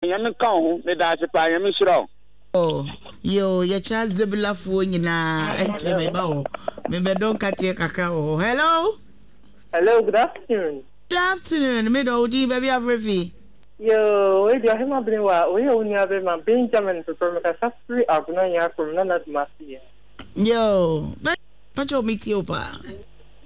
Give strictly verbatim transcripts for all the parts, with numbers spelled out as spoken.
Nyame nka wo ho. Meda ase paa. Nyame nhyira wo. Oh yoo yɛkyia Zebulafoɔ nyinaa ɛnkyɛ meba hɔ mebɛdɔ nkateɛ kakra wɔ hɔ hello. Hello, good afternoon. Good afternoon, me dɔ wo din baabi afrɛ fi. Yoo, wei deɛ Ɔhema Benewa, wei yɛ wo nua bɛma Benjamin Peprah, mekasa firi Agona Nyarko mu, Nana Dumasi yɛ. Yoo, pakyɛw me tie wo paa.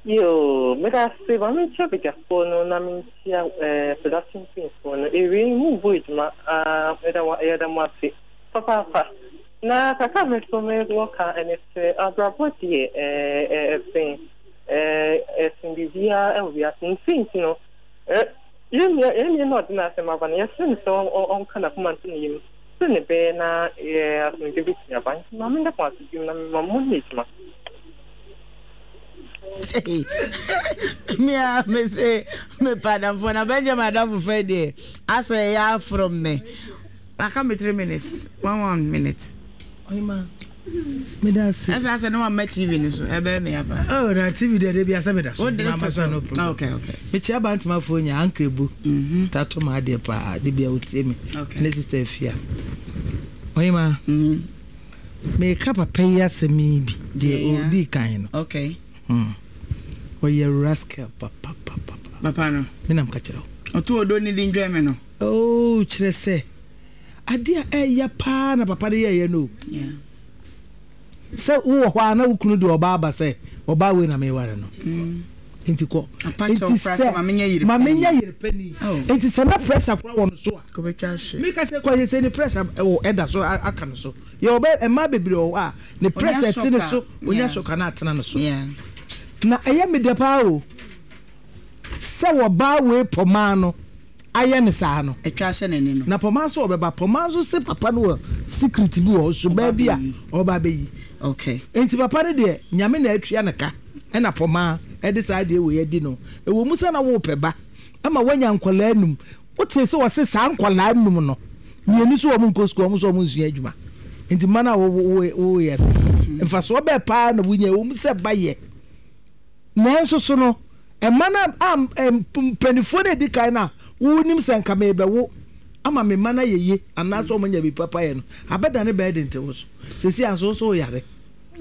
Yoo, meda ase, ma menkyia badwafoɔ no na menkyia eh, production team foɔ no, awiei mo bɔ adwuma ah, meda mo, yɛda mo ase papaapa. Na kakra a me nso mewɔ ka ɛne sɛ, abrabɔ deɛ eh, ɛsen eh, ɛsen biribiara ɛwɔ wiase, ne sei nti no, eh, yɛn nua, yɛn nua no a ɔde n'asɛm aba no, yɛsrɛ no sɛ ɔnka n'akoma nto ne yam sɛnea ɛbɛyɛ na eh, asomdwoe betumi aba. Nti ma meda mo ase bio na mema mo nyɛ adwuma. Me a me se mepɛ adamfoɔ na Benjamin adamfo fɛ deɛ asɛ ɛyɛ aforo me. Aka me three minutes, one one minute. Ɔhema, meda ase. Ɛsɛ asɛ ne wamma T V no so ɛbɛyɛ me aba. Oh, na T V deɛ de bi asɛ meda so. Wode Nti to so so. No problem. Okay, okay. Mekyia Bantamafoɔ nya Ankrebu. Mhm. Tato ma adeɛ paa de bia wotie me. Okay. Ne sister Afia. Ɔhema, Mhm. meka papa yi asɛm yi bi deɛ Yeah. ɔdii kan no. Okay. Hmm. Ɔyɛ rascal papapapa. Papa no. Menam ka kyerɛ wo. Ɔto odo ne di ndwɛn me no. Oh, kyerɛ sɛ adeɛ a ɛyɛ paa na papa no yɛɛyɛ no o. Yeah. Sɛ wowɔ hɔ a na wo kunu de ɔbaa ba sɛ ɔbaa wei na meware no. Mm. Nti kɔ. Apa kyɛw Nti koraa sɛ sɛ ma menyɛ yere ma panin. menyɛ yere panin. Oh. Nti sɛ na pressure koraa wɔ no so a. Kɔbɛtwa ahwe. Meka sɛ kɔ sɛ ne pressure ɛwɔ ɛda so a- aka no so. Yɛ ɔbɛ mmaa bebree wɔ hɔ a ne pressure te ne shock a, so onya yeah. shock a na atena no so. Yeah. Na ɛyɛ me dɛ paa o sɛ wɔbaa wei pɔmaa no ayɛ ne saa no. Atwa ahyɛ n'ani no. Na pɔmaa nso ɔbɛba, pɔmaa nso se papa no wɔ secret bi wɔ hɔ, suban bi a bɛyi. Ɔba bɛyi. Okay. Nti papa no deɛ, Nyame na atua ne ka ɛna pɔmaa ɛde saa adeɛ wei adi no. Ɛwɔ mu sɛ na wopɛ ba ama woanya nkwadaa num, wote sɛ wɔse saa nkwadaa num no mmienu so wɔn nkɔ sukuu, wɔn nso wɔn nsua adwuma, nti mma no a woyɛ no mfasoɔ bɛɛ paa na wonya. Ɛwɔ mu sɛ ba yɛ, nanso so no ɛma no a mpanimfoɔ no edi kan no a wonim sɛ nka mebɛwo ama me mma no ayɛ yie anaasɛ wɔn anya bi papa yɛ no abɛda ne bɛyɛ de nte wo so sɛsi anso wo so woyare.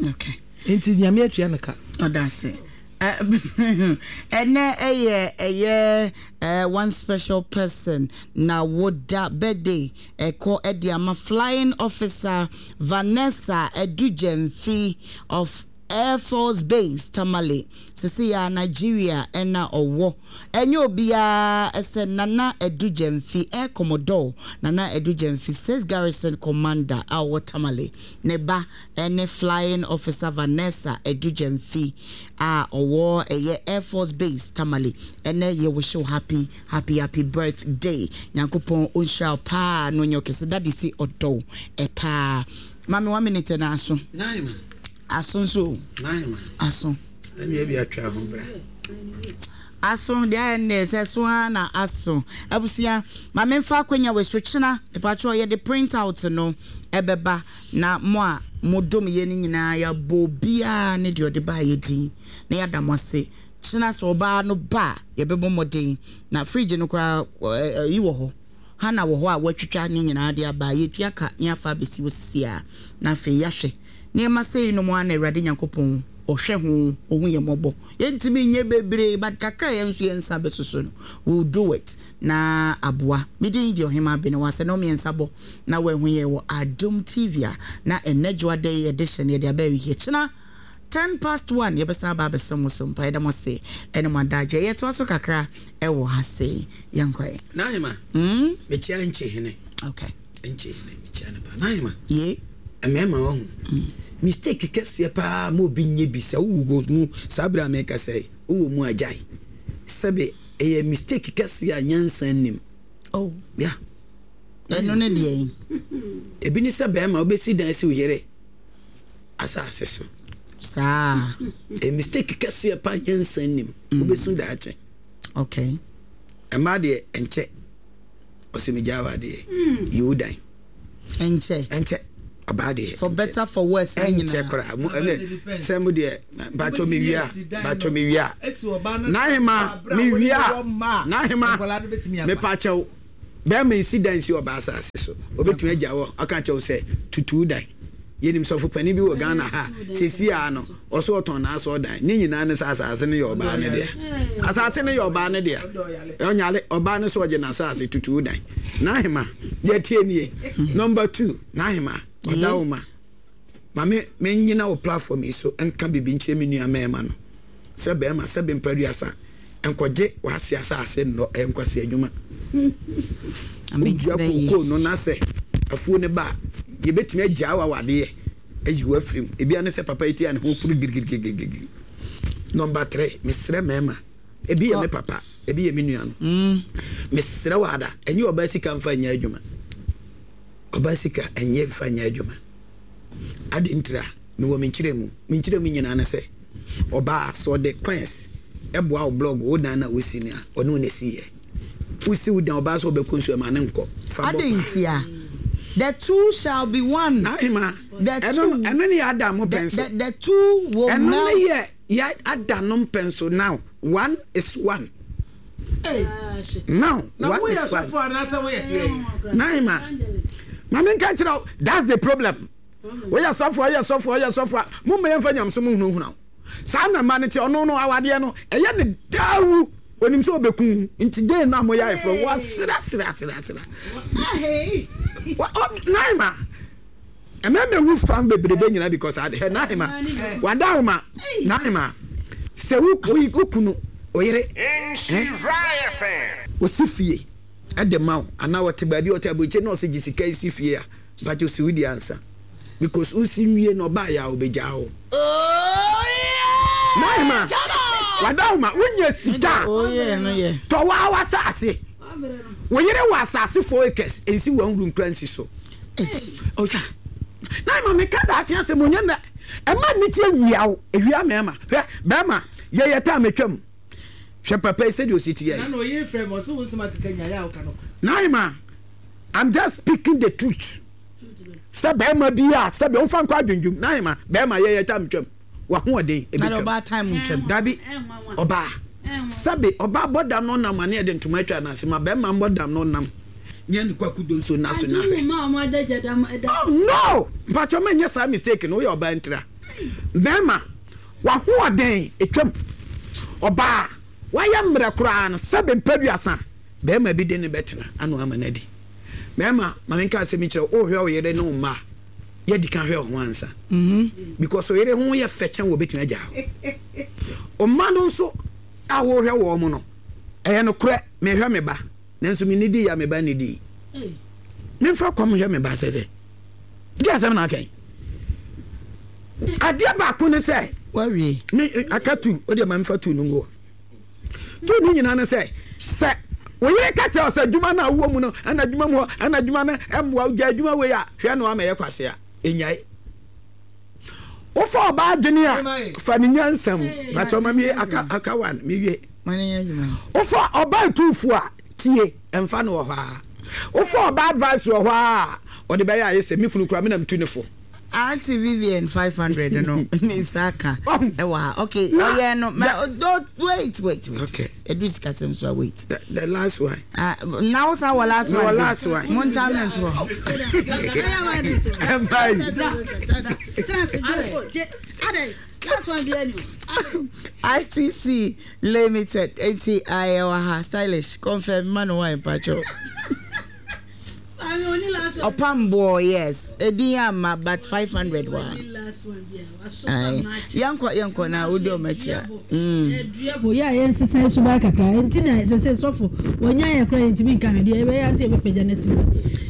Okay. Nti Nyame atua no ka. Ɔda ase. Ɛnɛ ɛyɛ ɛyɛ ɛɛ one special person na woda birthday ɛkɔ ɛde ama Flying Officer Vanessa Edugyemfi of Air Force Base Tamale, sisi ya Nigeria ɛna ɔwɔ. Ɛnyɛ obiara ɛsɛ Nana Edugyemfi, Air Commodore Nana Edugyemfi, Six Garrison Commander a ɔwɔ Tamale, ne ba ɛne Flying Officer Vanessa Edugyemfi a ɔwɔ ɛyɛ Air Force Base Tamale. Ɛnɛ yɛ wish you happy, happy, happy birthday. Nyankopɔn ɔnhyira wo paa na ɔnyɛ ɔkɛse. Daddy si ɔdɔw ɛpaa. Maame, one minute na aso. Nine. Aso nso o. Nine. Aso. Ɛne ebi atwa ho bra. Aso deɛ ayɛ nnɛ sɛ so ara na aso. Abusua, maame, mfa akonnwa wɔ so kyena mepatwerɛ yɛde print out no ɛbɛba na mo a modom yɛ no nyinaa yɛabɔ obiara ne deɛ ɔde baa yɛ din na yɛada mo ase. Kyena sɛ ɔbaa no ba a, yɛbɛbɔ mmɔden na fridge no koraa yi wɔ hɔ hana wɔ hɔ a wɔatwitwa ne nyinaa de aba. Yɛtua ka ne afa abɛsi wɔ sisi a na afei yɛahwɛ nneɛma sɛyi nom a na Awurade Nyankopɔn ɔhwɛ ho ɔhu yɛ mmɔbɔ. Yɛntumi nyɛ bebree but kakra yɛn nso yɛn nsa bɛsoso no, we will do it na aboa. Medin deɛ Ɔhema Abene wɔ asɛ na ɔmmiɛnsa bɔ na wɔahu yɛ wɔ Adom T V a na ɛnɛ dwoada yi yɛde hyɛ no yɛde aba awie. Kyena ten past one yɛbɛsan aba abɛsɛm mo so mpa. Yɛda mo ase ɛne mo adagye. Yɛtoa so kakra ɛwɔ ha sei, yɛnkɔɛ. Nahema, mm? mekyia nkye hene. Okay. Nkye hene, mekyia no pa. Nahema, ye. Mmarima wɔ ho mistake kɛseɛ paa ma obi nyɛ bi sɛ wowɔ mu saa berɛ a meka sɛ wowɔ mu agyae sɛbe ɛyɛ mistake kɛseɛ a nyansa nnim. Oh. Ya. Ɛno ne deɛ yi. Ebi ne sɛ bɛrima wobɛsi dan si wo yere asase so. Saa. Ɛyɛ mistake kɛseɛ paa, nyansa nnim, wobɛsu daakye. Okay. Ɛmaa deɛ ɛnkyɛ ɔsɛ megyaa wɔ adeɛ yi wo dan. Ɛnkyɛ. Ɛnkyɛ, ɔbaa deɛ. For better, for worse ne ɛnkyɛ nyinaa. Koraa mo ɛnɛ sɛ mo deɛ batwɔ mi wia batwɔ mi wia. N'ahema mi wia n'ahema mepa kyɛw. Bɛrima nsi dan si ɔbaa asase so. Obetumi agya hɔ aka kyerɛ wo sɛ tutu dan. Yɛnim sɔfo panin bi wɔ Ghana ha sɛsi a no ɔso ɔtɔn n'asɔ dan. Ne nyinaa ne sɛ asase no yɛ ɔbaa no dea. Asase no yɛ ɔbaa no dea. Ɔnyare ɔbaa no so ɔgye n'asase tutu dan. N'ahema deɛ tie nie. Number two, n'ahema ɔda wo ma. Ma me menyina wo platform yi so nka biribi nkyerɛ me nua mmarima no. Sɛ bɛrima sɛ bɛmpa nkɔgye w'ase asase nnɔ ɛyɛ nkwasi adwuma. Wodua kookoo no na sɛ afuo no ba a yɛbɛtumi agyaa wo awadeɛ ayi wo afiri mu. Ebia ne sɛ papa yi ti a ne ho puru girigirigirigiri. Number three, mesrɛ mmarima, ebi yɛ me papa, ebi yɛ me nua no. Mesrɛ wo ada, ɛnyɛ ɔbaa sika mfa nyɛ adwuma. Ɔbaa sika ɛnyɛ mfa nyɛ adwuma. Ade ntira, mewɔ me nkyerɛ mu. Me nkyerɛ mu nyinaa ne sɛ, ɔbaa sɛ ɔde coins ɛboa wo blog wo dan na wosi no a, ɔne wo na esi yɛ. Wosi wo dan ɔbaa sɛ ɔbɛkɔ nsuo ɛma ne nkɔ. Fa bɔ Ade ntia. The two shall be one. Ahema, The ɛno two. ɛno ne yɛ ada mo The, pɛn so. the, the two will Ɛno ne melt. yɛ yɛ ada no mpɛn so now. One is one. Now Na one woyɛ is one. sɔfo anaasɛ woyɛ deɛ? Naima, maame nka kyerɛ wo, that's the problem. Woyɛ sɔfo, woyɛ sɔfo, woyɛ sɔfo a, mo mma yɛmfa nyamso mu hunahuna wo. Saa na mma no te ɔno no awadeɛ no, ɛyɛ ne daawu. Onim sɛ ɔbɛku nti den no a moyɛ ayeforɔ, wasra sra sra sra. Wa- ɔ- Naima, ɛmɛ wu fam bebrebe nyinaa because ade hɛ Naima, wada wo ma, Naima, sɛ wo wo kunu, oyere, osi fie ɛde ma wo anaa ɔte baabi a ɔte aburokyi na ɔsɛ gye sika esi fie a mpakyɛ osi wo di ansa because wosi nwie na ɔbaa yɛ a ɔbɛgyaa wo. Naima, wada wo ma wonya sika Oh yeah, no yeah. tɔ waa w'asase wo yere wɔ asase four acres nsi wɔn wuru nkura nsi so. Ɔya Naima meka daakye asɛm onye na ɛma ne tie nwia wo ewia mɛɛma hwɛ bɛɛma yɛyɛ taa metwam hwɛ papa yi sɛdeɛ osi teɛ yi. Na na ɔyɛ frɛ me ɔsɛ wo nsɛm akeka nyaeɛ a woka no. Naima, I'm just speaking the truth. Sɛ bɛrima bi a sɛbi ɔnfa nkɔ adwendwem Naima bɛrima yɛyɛ tam twam wahoɔden ebi Na twam. ɔbaa time ntwam. Dabi ɔbaa sɛbi ɔbaa bɔ dam no nam ane yɛde ntoma atwa n'ase ma bɛrima mbɔ dam no nam nyɛ ne kwaku do nso na so na hwɛ. Oh no! Mpatsɔ mɛ nyɛ saa mistake no woyɛ ɔbaa ntira. Bɛrima wahoɔden etwam ɔbaa wayɛ mmerɛ koraa no sɛbi mpɛduasa bɛrima bi de ne bɛtena ano ama no adi. Bɛrima maame nka asɛm kyerɛ wo wohwɛ wo yere ne wo mma a yɛdi ka hwɛ wo ho ansa. Because wo yere ho yɛ fɛ kyɛn wɔ bɛtumi agya hɔ. Ɔma no nso a wɔhwɛ wɔn mo no ɛyɛ nokorɛ mehwɛ me ba nanso me nidi ya me ba nidi. Memfa kɔm hwɛ me ba sɛ sɛ di asɛm na aka yi. Adeɛ baako ne sɛ Wawie. me aka tu o deɛ ma mefa tu no ngu hɔ. Tu no nyinaa ne sɛ sɛ wo yere ka kyerɛ wo sɛ adwuma no a wowɔ mu no ɛna adwuma mu hɔ ɛna adwuma no ɛmmoa wo gya adwuma wei a hwɛ no ama ɛyɛ kwase a ɛnyae. Wofa ɔbaa adwene a fa ne nyansa mu pakyɛ ɔma mie aka aka one mewie. Ma ne nyɛ adwuma. Wofa ɔbaa tuufu a tie ɛmfa no wɔ hɔ a wofa ɔbaa advice wɔ hɔ a ɔde bɛyɛ ayɛ sɛ me kunu kura me na metu ne fo. Auntie Vivian five hundred no ne nsa aka ɛwɔ ha. Okay, Na- ɔyɛ no. Ma, oh, wait, wait, wait. Okay. Edu sikasɛm so a wait. The, the last one. Ah, na wo san wɔ last Me one. wɔ bi. last one. Mo ntam ne nto hɔ. Ɛmpa yi. ITC Limited eti ayɛ wɔ ha stylish confirm ma no wine pacho. Ɔpamboɔ yes edin ama but five hundred wɔ ha. Aye. Yɛnkɔ yɛnkɔ na wodi ɔmo akyi a. Mm. Yɛ a yɛnsesa suban kakra nti na sɛ sɛ sɔfo wɔnya yɛ kora yɛntumi nka hwɛ deɛ yɛbɛyɛ sɛ yɛbɛpagya no asi mu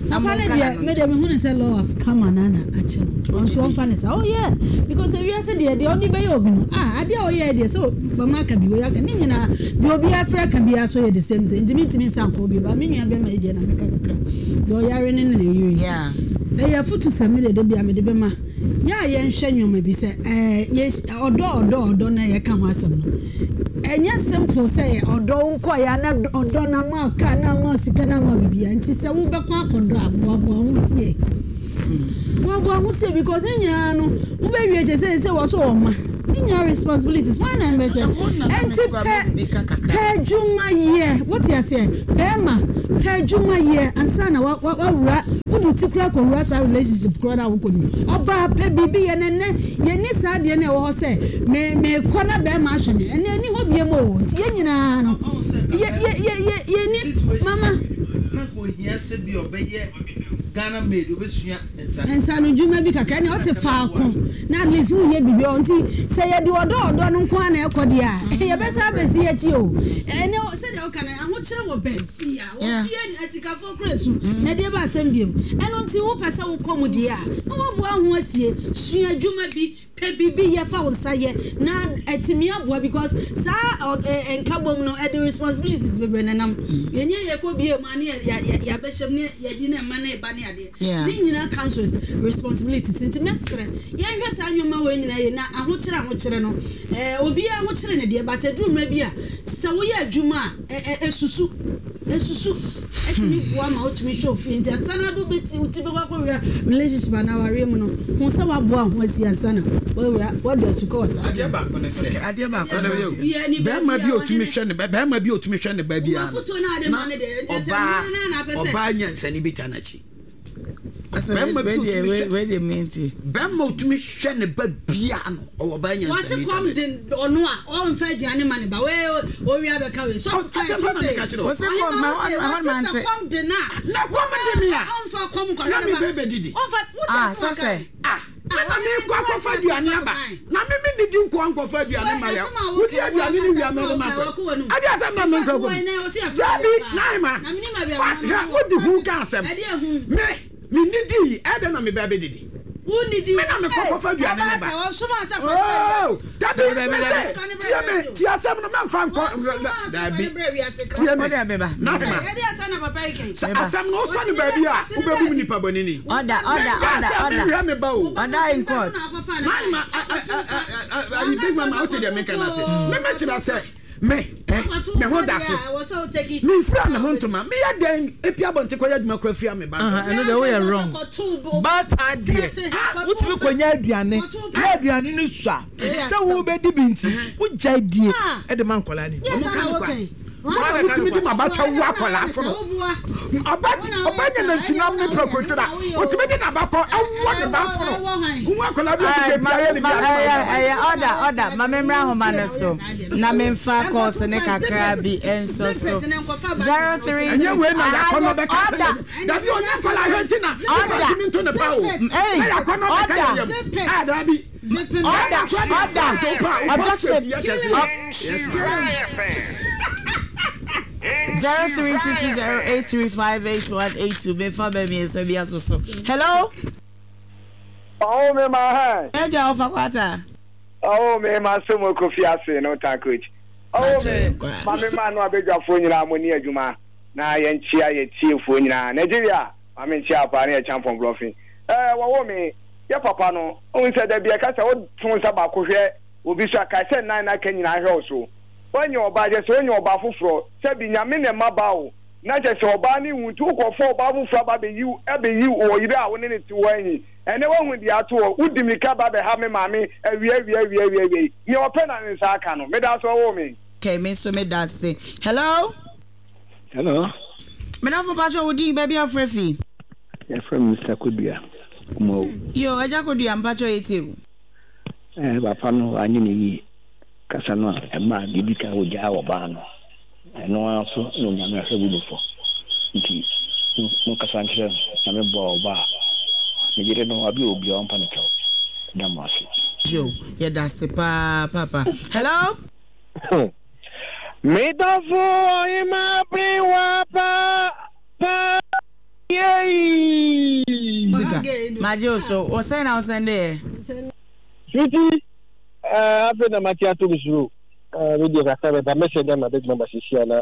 Na papa no monka deɛ n'ano me deɛ mehu ne sɛ law of karma na na akye no ɔnto ɔmfa ne sa oh yeah because ewiase deɛ deɛ ɔde bɛyɛ obi no ah adeɛ a ɔyɛ deɛ sɛ bama aka bi wɔyɛ aka ne nyinaa deɛ obi afrɛ aka biara so yɛ the same thing nti mentumi nsa nkɔ obi ba me nua bɛma yi deɛ na meka kakra deɛ ɔyare ne ne ne yere Yeah. ɛyɛ afotu sɛ me de de bia mede bɛma yɛ a yɛnhwɛ nneɛma bi sɛ ɛɛ yɛ ɔdɔ ɔdɔ ɔdɔ na yɛka ho asɛm no ɛnyɛ simple sɛ ɔdɔ wo nkɔ yɛ na ɔdɔ na ma kaa na ma sika na ma bibia nti sɛ wobɛkɔ akɔdɔ a boaboa ho sie boaboa ho sie because ne nyinaa no wobɛwie kyɛ sɛ sɛ wɔ so wɔ ma ne nyinaa responsibilities wɔn na mbɛhwɛ Ɛhɔ na na ɛnti me kura pɛ bi ka kakra. Pɛ adwuma yɛ, wote aseɛ, bɛrima pɛ adwuma yɛ ansa na wawura wode ti kora kɔwura saa relationship kora no a wokɔ no. Ɔbaa pɛ biribi yɛ nɛnɛ yɛni saa deɛ no ɛwɔ hɔ sɛ mekɔ na bɛrima ahwɛ me ɛnɛ ɛni hɔ biam o. Nti yɛn nyinaa no yɛni mama nsa no dwuma bi kakra ne ɔte faako na at least woyɛ biribi ɔ. Nti sɛ yɛde ɔdɔ ɔdɔ no nko a na ɛkɔ deɛ a yɛbɛsa abɛsi akyi o. Ɛnɛ sɛdeɛ woka no ahokyerɛ wɔ baabi a wɔbie atikafoɔ kora su na deɛ ba asɛm biom. Ɛno nti wopɛ sɛ wokɔ mu deɛ a na woaboa ho asie, sua adwuma bi, pɛ biribi yɛ, fa wo nsa yɛ na atumi aboa, because saa nkabom no ɛde responsibilities bebree nenam. Yɛnyɛ yɛkɔ bie mu a ne yɛabɛhyɛm ne yɛdi ne mma ne ba ne adeɛ ne nyinaa comes with responsibilities. Nti mɛsrɛ yɛnhwɛ saa nneɛma wɔ nyinaa yɛ na ahokyerɛ ahokyerɛ no obiara ahokyerɛ ne deɛ, but aduru mmerɛ bi a sɛ woyɛ adwuma a ɛsusu ɛsusu ɛtumi boa ma wotumi hwɛ ofie. Nti ansa na ado bɛti wo ti bɛkɔ akɔwura relationship anaa awareɛ mu no ho sɛ woaboa ho asi ansa na wawura wadu asukɔ wɔ saa. Adeɛ baako ne sɛ adeɛ baako ne bɛrima bi otumi hwɛ ne bɛrima bi otumi hwɛ ne ba bi ano na ɔbaa ɔbaa nyansani bi ta n'akyi. Bɛrima bi otumi hwɛ bɛrima otumi hwɛ ne ba bia no ɔwɔ ba nyansani ta n'akyi. Wɔsi kɔm de ɔno a ɔnfɛ aduane ma ne ba wee owia bɛka wei. Ɔtɛ pa na meka kyerɛ o. Wɔsi kɔm ma ɔn ma nte. Kɔm de na. Na kɔm de mi a. Ɔnfa kɔm kɔhwɛ ne ba. Na mi bɛ bɛ didi. Ɔnfa ah sase. Ah. Na mi nkɔ akɔfa aduane aba na mi mi nidi nkɔ nkɔfa aduane ma yɛ wodi aduane ni wia mɛri ma kɔ adi asɛm na mi nkɔ kɔ dabi naima fat hwɛ wodi hu ka asɛm mi mi nidi ɛdɛ na mi bɛ bɛ didi mi na mi kɔ kɔfa aduane ne ba ooo dabi mi sɛ tie mi tie asɛm no mɛ nfa nkɔ dabi tie mi naima asɛm no wosɔ ne baabi a wobɛbu mi nipa bɔ nini ɔda ɔda ɔda ɔda mehwɛ me ba o ɔda in court naima ayi big mama wote deɛ meka no ase memɛkyerɛ sɛ me me ho da so memfira me ho ntoma meyɛ dɛn ɛpia abɔnte kɔyɛ adwuma kora fira me ba ntoma. Ɛno deɛ woyɛ wrong. Baata deɛ wotumi kɔnya aduane na aduane no sua sɛ wobɛdi bi nti wogyae die ɛde ma nkɔlaa no. Ɔmo ka no kwa mama wotumi di ma bata wu akɔlaa fono ɔba ɔba nyɛ nantwinam ne prɛkontona wotumi di n'abakɔ ɛwɔ ne ba fono nwa akɔlaa bi a ɔde bi ayɛ ne bi ayɛ. Ɛyɛ ɔda ɔda ma memmra ahoma no so na memfa kɔɔso ne kakra bi nso so zero three ɛnyɛ wei na yakɔ no bɛka ɔda dabi ɔnyɛ nkɔlaa hwɛ nti na ɔda ɔtumi nto ne pa o ɛy yakɔ no bɛka ɔda yɛ yam a dabi ɔda ɔda objection zero three two two zero eight three five eight one eight two. Mefa bɛ mi nsa bi aso so. Hello. Oh me ma ha. Ɛgya ɔfa kwata. Oh me ma so mo kofi ase no tankoch. Oh me ma me ma no abedwafo nyina mo ni adwuma na yɛn chia yɛ tiefo nyina. Nigeria ma me chia pa na yɛ champion bluffing. Eh wo wo me ye papa no on se da bia ka se wo tun sa ba ko hwɛ obi so aka se nan na ka nyina hwɛ wo so. Onye ọba je se onye ọba foforo se bi nyame ne ma ba o na je se ọba ni wuntu ukofo ọba foforo ba be yiw e be yiw o yire a wo ne ne ti wo anyi ene wo hu di ato o wudi mi ka ba be ha me maame awie awie awie awie ni ope na nsa aka no me da so wo me okay me so me da se. Hello hello me da fo pa cho wudi ba bi afrefi ya from Mister Kodua mo yo eja Kodua mpa cho etie eh papa no anyi ne yi kasa no a ma bibi ka wo gya wo ba no eno aso no nyame ahwe bu befo nti mo kasa nkyerɛ na me bo ba ne gire no abi obi on pa ne kyɛw da mo ase yo ye da se pa papa. Hello me dofo ima briwa pa pa yei majo so o say na o send e sweetie. Eh, afe na mati ato misuru. Eh, me dey kasa be message na big number sisi ana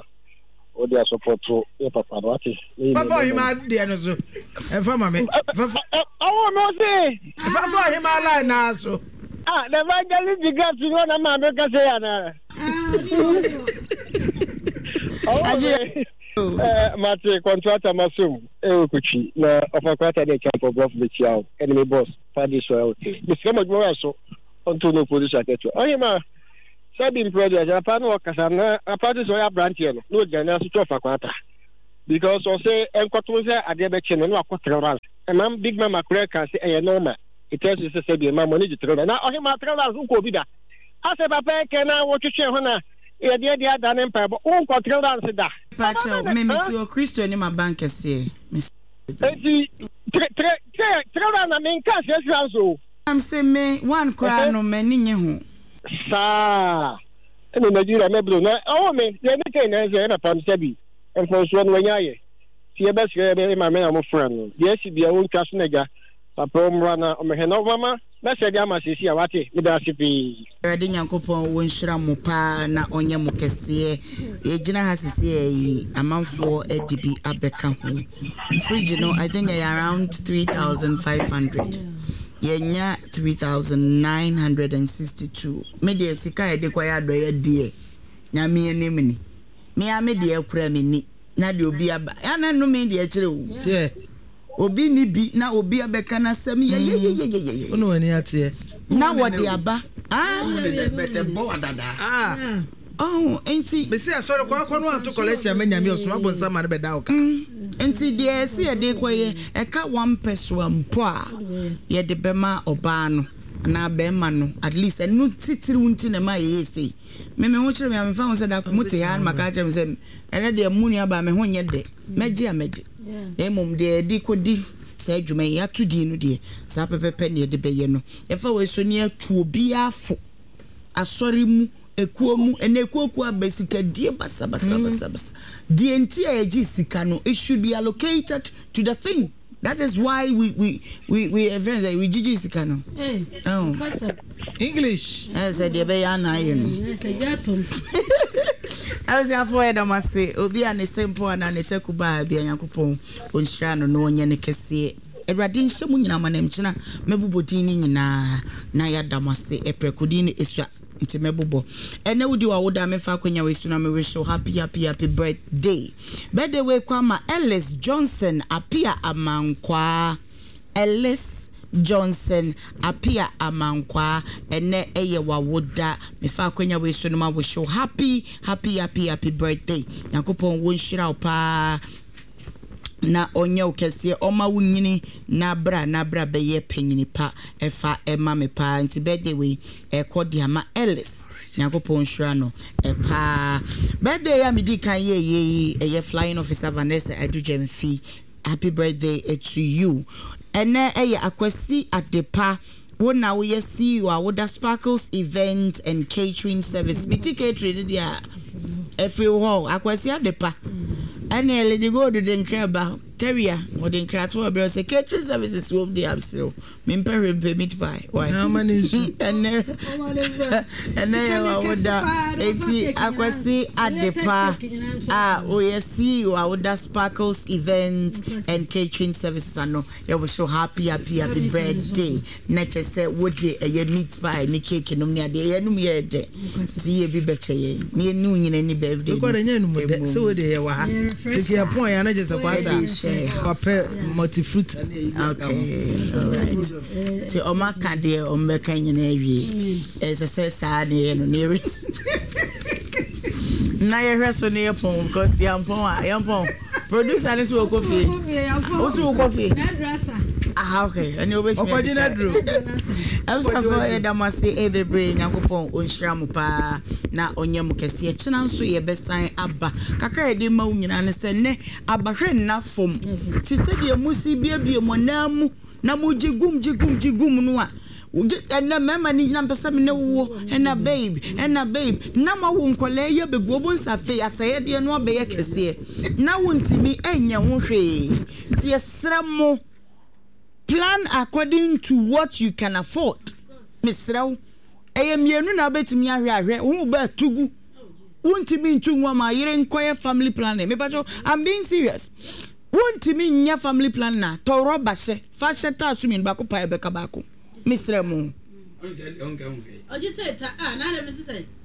o dey support e papa no ati. Papa hima dey no so. E fa ma me. Fa awo no se. Fa fa hima line na so. Ah, the evangelist the gas no na ma be kasa ya na. Aje. Eh, mati contractor masum e o kuchi na ofa kwata dey champ of be chia enemy boss fa dey so okay. Misika mo mo so onto no position aketo. Oye ma Sɛbi mpɛ deɛ papa no ɔkasa na papa de sɛ ɔyɛ aberanteɛ no na ɔgyina ne ase twɛ ɔfa kwata because ɔsɛ nkɔto sɛ adeɛ bɛkye no na wakɔ three rounds. Ɛma big mama koraa ka sɛ ɛyɛ normal. It tells you sɛ sɛbi ɛma mo ani gye three rounds na ɔhema three rounds wokɔ obi da asɛ papa ɛkɛ na wɔtwetwe ho na yɛdeɛ deɛ ada ne mpaebɔ wonkɔ three rounds da. Pakyɛw, me mete wɔ Kristo anim aba nkɛseɛ. Enti three three three three rounds na menka six rounds o. Am sɛ me one koraa no m'ani nye ho. Saa ɛna Nigeria mɛbro na ɔwɔ me deɛ ne kɛn na ɛsɛ ɛna pam sɛbi mfɔnsoɔ no wanya ayɛ ti yɛbɛsrɛ yɛbɛ maame na wɔfra no deɛ asi bia wɔntwa so n'agya papa ɔmmra na ɔmɛhwɛ na ɔmama mɛsɛ de ama sɛsi a wate meda ase pii. Awurade Nyankopɔn ɔnhyira mo paa na ɔnyɛ mo kɛseɛ. Yɛgyina ha sesei yi amanfoɔ de bi abɛka ho. Fridge no I think ɛyɛ around three thousand five hundred. Yɛnya three thousand nine hundred and sixty two. Me deɛ sika a yɛde kɔyɛ adɔeɛ deɛ Nyame anim ni. Me ara me deɛ koraa menni na deɛ obi aba ana nnome deɛ kyerɛ o. Obi nni bi na obi abɛka n'asɛm yɛyɛyɛyɛyɛyɛ. Wo na w'ani ateɛ. Na wɔde aba. Ah. Ah. Oh, nti. Mese asɔre kɔ akɔ no anto collection ama Nyame ɔsoma bonsam ma no bɛda wo ka. Nti deɛ ɛsɛ yɛde kɔyɛ ɛka one pɛsoa mpo a yɛde bɛma ɔbaa no anaa bɛrima no at least ɛno titiriw nti na ɛma yɛyɛ sei. Me me ho kyerɛ me a memfa ho sɛ da ko mote ha na maka akyerɛ me sɛ ɛnɛ deɛ mo nuabaa me ho nyɛ dɛ mɛgye a mɛgye. Na mmom deɛ yɛde kɔdi saa adwuma yi yɛato din no deɛ saa pɛpɛpɛ na yɛde bɛyɛ no. Yɛfa wei so ne yɛatu obiara fo asɔre mu ekuo mu ɛnna ekuo aba sikadie basabasabasabasa. Deɛ nti a yɛgye sika no it should be allocated to the thing. That is why we we we we ɛfɛn sɛ we gyigyi sika no. Oh. English. Ɛsɛ sɛ deɛ ɛbɛyɛ ana ayɛ no. Abusuafoɔ yɛda mo ase obi a ne se mpo anaa ne taku baa bia Nyankopɔn ɔnhyira no na ɔnyɛ no kɛseɛ. Awurade nhyɛ mo nyinaa ma na mkyena mɛbobɔ din no nyinaa na yɛada mo ase ɛprɛko din no ɛsua nti mɛbobɔ. Ɛnɛ wodi w'awoda a memfa akwanya wei so na me wish wo happy happy happy birthday. Birthday wei kɔ ama Ellis Johnson Apia Amankwaa. Ellis Johnson Apia Amankwaa ɛnɛ ɛyɛ w'awoda mefa akwanya wei so no ma wish wo happy happy happy happy birthday. Nyankopɔn wɔnhyira wo paa na ɔnyɛ wo kɛseɛ ɔma wo nyini na bra na bra bɛyɛ panyini pa ɛfa ɛma me paa nti birthday wei ɛkɔ de ama Ellis Nyankopɔn nhyira no ɛpaa. Birthday a medi kan yɛyɛ yi ɛyɛ flying officer Vanessa Adu-Gyamfi happy birthday to you. Ɛnɛ ɛyɛ Akwasi Adepa wo na woyɛ C E O a woda Sparkles Event and Catering Service. Meti catering no deɛ a ɛfiri hɔ Akwasi Adepa ɛne Lady Gold de nkra ba Terrier wɔde nkrato ɔbrɛ sɛ catering services wɔ mu deɛ abserew mempɛ hwee mpɛ meat pie why ɛnɛ ɛnɛ yɛ wa woda eti Akwasi Adepa a woyɛ C E O a woda Sparkles Event and Catering Services ano yɛwɔ so happy happy happy birthday na kyerɛ sɛ wode ɛyɛ meat pie ne cake nom ne adeɛ yɛnum yɛ dɛ nti yɛ bi bɛkyɛ yɛn ne yɛne wo nyina ni birthday no Rekɔde nyɛ enum dɛ sɛ wode yɛ wɔ ha tete yɛ pɔn yɛ anagye sɛ kwata wapɛ multifruit. Okay, all right. Nti ɔmo aka deɛ ɔmo bɛka nyinaa awie. Ɛsɛ sɛ saa ne yɛ no ne yɛrɛ na yɛhwɛ so ne yɛ pɔn because yɛn pɔn a yɛn pɔn producer ne so wɔkɔ fie wosi wokɔ fie aha okay ɛne wobɛtumi Ɔkɔgye n'aduro. Abusuafoɔ yɛda mo ase bebree Nyankopɔn ɔnhyira mo paa na ɔnyɛ mo kɛseɛ. Kyena nso yɛbɛsan aba kakra yɛde ma wo nyinaa ne sɛ nnɛ abahwɛ nna fam te sɛdeɛ mo si biebie mo nan mu na mo gye gum gye gum gye gum no a ɛnɛ mmarima ni na mpɛ sɛ me ne wo ɛna babe ɛna babe na ma wo nkɔlaa yi abɛgu ɔbo nsa afei asɛyɛdeɛ no abɛyɛ kɛseɛ na wontumi ɛnyɛ ho hwee nti yɛsrɛ mo plan according to what you can afford. Mesrɛ wo ɛyɛ mmienu na wobɛtumi ahwɛ ahwɛ wo bɛ tugu wontumi ntu ngu ama yere nkɔyɛ family planning. Mepakyɛw, I'm being serious. Wontumi nyɛ family planning a tɔ rɔba hyɛ fa hyɛ taa so mmienu baako pa ɛbɛka baako. Mesrɛ mo.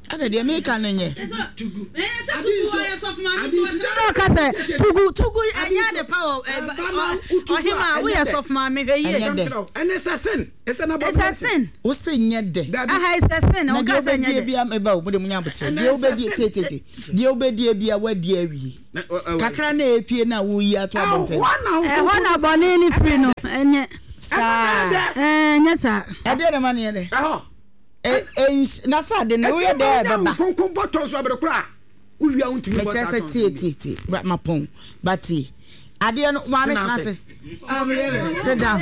Ada deɛ meka no nyɛ. Ɔka sɛ tugu tugu ɛnyɛ ade pa wɔ ɔhema a woyɛ sɔfo maame hwɛ yie. Ɛnyɛ dɛ. Ɛne sɛ sin. Ɛsɛ na Ɛsɛ sin. Wo se nyɛ dɛ. Aha ɛsɛ sin. Na Ɔka deɛ sɛ nyɛ wobɛdie dɛ. bia meba wo mode munya abokyerɛ. Deɛ wobɛdie tie tie tie. Deɛ wobɛdie bia woadi awie. Kakra na epie na woyi ato abɔnten. Ɛhɔ na bɔne ne firi no ɛnyɛ. Saa. Ɛnyɛ saa. Ɛdeɛ na ma ne yɛ dɛ. Ɛhɔ. Na sɛ ade no woyɛ dɛ ɛbɛba. Nkonko bɔtɔ nso abere kora. Wowia wontumi bɔ Mekyerɛ saa sɛ tɔn tie tie tie. Ba mapɔn. Ba tie. Adeɛ no maame tena ase. Sit down.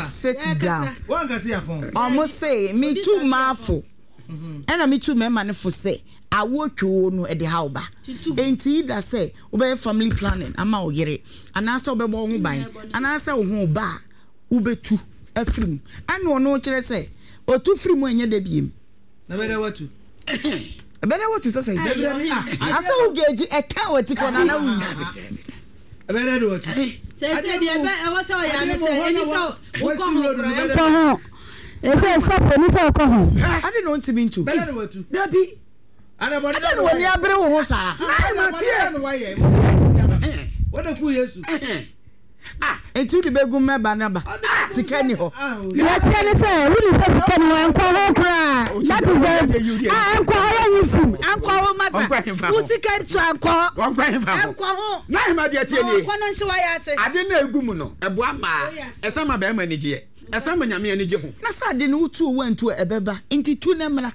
Sit down. Ɔmo se me tu maafo. Ɛna me tu mmarima no fo sɛ awo twoo no ɛde ha wo ba. Enti da sɛ wobɛyɛ family planning ama wo yere anaasɛ wobɛbɔ wo ho ban anaasɛ wo ho ba a wobɛtu afiri mu. Ɛna ɔno kyerɛ sɛ otu firi mu ɛnyɛ da biem. Na bɛdɛ watu. Ɛbɛdɛ watu sɛ sɛ. Asɛ wo geegi ɛka wɔ ti kɔ na na wuyi. Ɛbɛdɛ de watu. Sɛ sɛ deɛ ɛbɛ ɛwɔ sɛ ɔyɛ ane sɛ ɛni sɛ wokɔ ho koraa ɛnkɔ ho. Ɛsɛ sɔfo ɛni sɛ ɔkɔ ho. Ade na ɔntumi ntu. Bɛdɛ de watu. Dabi. Ade na w'ani abere wo ho saa. Na tie. Wɔde ku Yesu. Ah, enti wode bɛgu mmɛba no ba. Sika ni hɔ. Deɛ teɛ ne sɛ wode sɛ sika ni hɔ ɛnkɔ ho koraa. That is the ah ɛnkɔ hɔ yɛ nyi fim ɛnkɔ ho masa. Wo sika nso ɛnkɔ hɔ. Wɔnkɔ hefa ho. Ɛnkɔ ho. Na ahema deɛ tie nie. Ɔkɔ no nhyɛ wayɛ ase. Ade na egu mu no ɛboa maa ɛsɛ ma bɛrima ani gyeɛ. Ɛsɛ ma nyame ani gye ho. Na sɛ ade no wotu owu antu a ɛbɛba nti tu na mmra.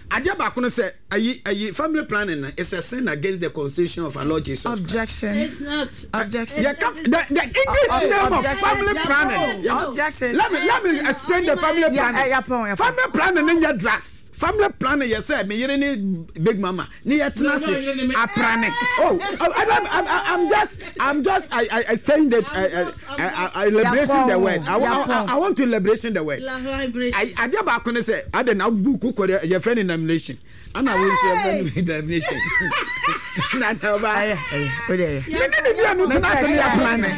Adeɛ baako no sɛ ayi ayi family planning no is a sin against the constitution of our Lord Jesus Christ. Objection. It's not. Objection. Yeah, come, the, the English Oh, name of objection. family planning. Yeah. Objection. Let me let me explain the family Yeah, planning. eh, yeah, pon, yeah, pon. Family planning no nyɛ drugs. Family planning yɛ sɛ me yere ne big mama ne yɛ tena No, no, yere ne ase me. aprane. Oh, I, I, I'm, I'm just I'm just I I, I saying that I I, I, I liberation the word. I, I, I, I want to liberation the word. I adeɛ baako ne sɛ ade na buku kɔ de yɛfrɛ no nomination. Ana wo nso yɛfrɛ no nomination. Na na ɔba. Ɛyɛ ɛyɛ o de ɛyɛ. Me ne ne mmienu tena ase ne yɛ planning.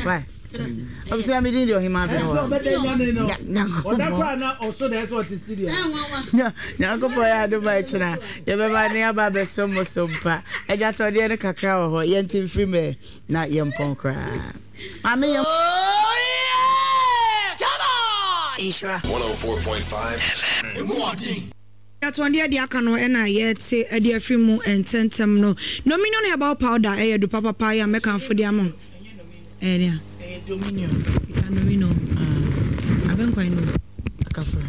Why? Abusua mi din de ɔhema abɛn wɔ. Ɔda kora na ɔso na ɛsɛ ɔte studio. Nyankopɔn yɛ adom a ɛkyena yɛbɛba ne aba abɛso mo so mpa. Agyatɔdeɛ no kakra wɔ hɔ yɛnte mfiri mɛ na yɛmpɔn koraa. Maame yɛn. one oh four point five Atɔndeɛ de aka no ɛna yɛte ɛde afiri mu ntɛntɛm no. Dominion herbal powder ɛyɛ du papapa yɛ mɛkanfo de ama. Ɛyɛ dea. Ɛyɛ Dominion. Ika Dominion. Abɛnkwan no. Akafra.